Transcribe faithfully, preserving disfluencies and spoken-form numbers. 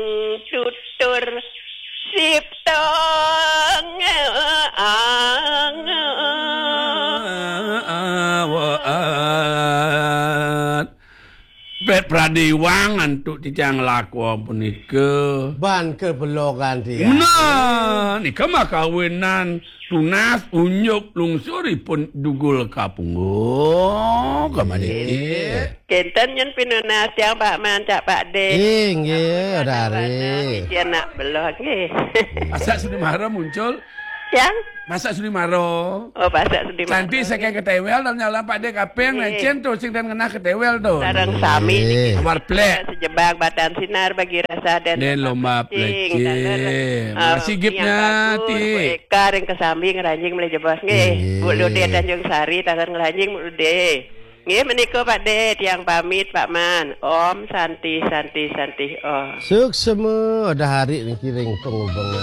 Tutur siptong. Awaan. Pet pradéwang antuk titiang lakwa punika. Ban kebelogan tiang. Nah, nika mah kawinan tunas unjuk lungsuripun dugul kapunggung. Kamari. Kénten nyén pinunas tiang Pak Man, cak Pak Dé. Inggih, Dari. Titiang nak beloh, nggih. Masak Sudi Mara muncul. Yang? Masak Sudi Mara. Oh, Masak Sudi Mara. Nanti saking ketéwél dan nyala Pak Dé kaping, cén to sing dan ngenah ketéwél to. Sareng sami niki. Awar plek. Sejebak batan sinar bagi rasa dan lomba plecing. Taler, eh, Masih gipnya, yang bagus, ti. Bu Eka ring kesambi ngranjing malih jebos, nggih. Nggih. Bu Lude Tanjung Sari, taler ngranjing, Bu Lude. Nggih, menika Pak Dé, tiang pamit, Pak Man. Om Santi, Santi, Santi, Om. Suksma, Dahari niki ring pangubeng.